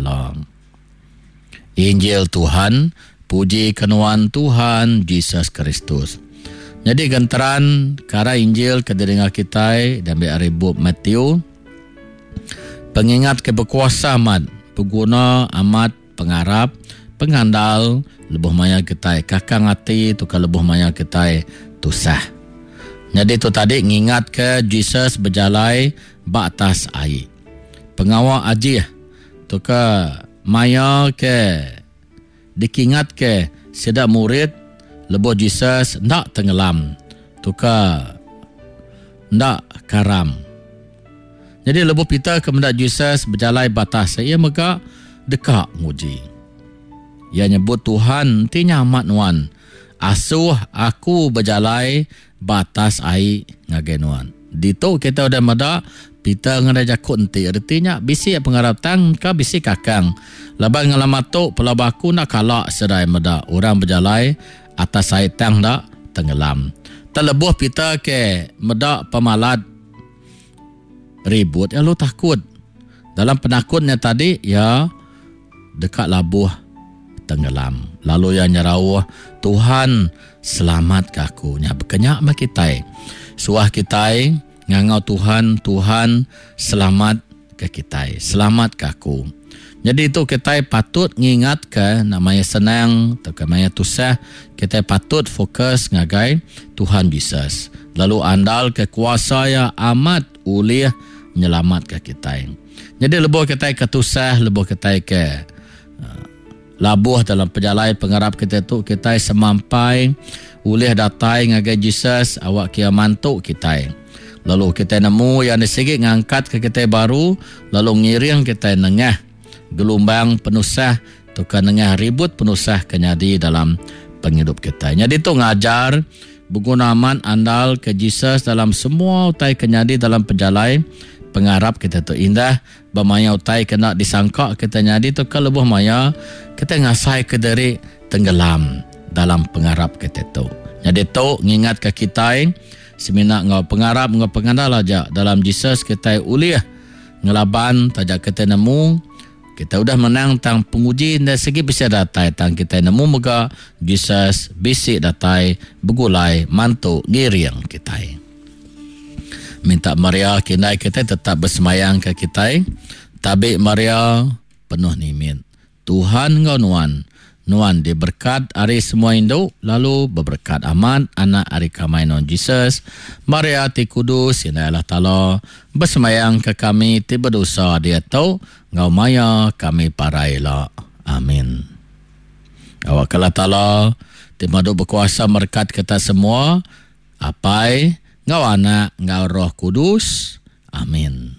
Taala. Injil Tuhan, puji ke nuan Tuhan Jesus Kristus. Nyadi genteran kara Injil ke didinga kitai diambi ari bup Matthew. Pengingat ke bekuasa amat, beguna amat pengarap, pengandal lebuh maya kitai kakang ati tauka lebuh maya kitai tusah. Nyadi tu tadi ngingatka Jesus bejalai ba atas ai. Pengawa ajih tauka maya ke dikingatka sida murid lebuh Jesus enda tengelam tauka enda karam. Nyadi lebuh Peter ke meda Jesus bejalai ba atas iya mega deka nguji. Iya nyebut Tuhan enti nya amat nuan, asuh aku bejalai ba atas ai ngagai nuan. Ditu kita udah meda Peter ngena jaku enti reti nya bisi pengarap tang ka bisi kakang laban ngelama tu pelaba aku enda kala sedai meda orang bejalai atas ai tang enda tenggelam. Tang lebuh Peter ke meda pemalat ribut iya lalu takut. Dalam penakut nya tadi iya deka labuh tenggelam. Lalu iya nyerauh, Tuhan, selamatka aku. Nya bekenya meh kitai. Suah kitai ngangau Tuhan, Tuhan, selamatka kitai. Selamatka aku. Nyadi tu kitai patut ngingatka enda maya senang tauka maya tusah, kitai patut fokus ngagai Tuhan Jesus lalu andalka kuasa iya amat ulih nyelamatka kitai. Nyadi lebuh kitai ke tusah, lebuh kitai ke labuh dalam pejalai pengarap kitai tu, kitai semampai ulih datai ngagai Jesus awak iya mantu kitai. Lalu kitai nemu iya enda sigi ngangkatka kitai baru lalu ngiring kitai nengah gelumbang penusah tauka nengah ribut penusah ke nyadi dalam pengidup kitai. Nyadi tu ngajar Beguna amat andal ke Jesus dalam semua utai ke nyadi dalam pejalai pengarap kita tu. Indah ba maya utai ke enda disangka kita nyadi tauka lebuh maya kita ngasaika diri tenggelam dalam pengarap kita tu. Nyadi tu ngingatka kitai semina enggau pengarap enggau pengandal aja dalam Jesus kitai ulih ngelaban taja kitai nemu Kita udah menang tang penguji enda sigi bisi datai tang kitai nemu mega Jesus bisi datai begulai mantu ngiring kitai. Minta Maria ke indai kitai tetap besemayang ke kitai. Tabi Maria penuh nimit. Tuhan enggau nuan. Nuan diberkat ari semua indu, lalu beberekat amat Anak ari kamai nuan Jesus. Maria ti kudus, Indai Allah Taala, besembayangka kami ti bedosa diatu enggau maya kami parai ila. Amin. Awakka Allah Taala ti madu bekuasa merekat kita semua, Apai, enggau Anak, enggau Roh Kudus. Amin.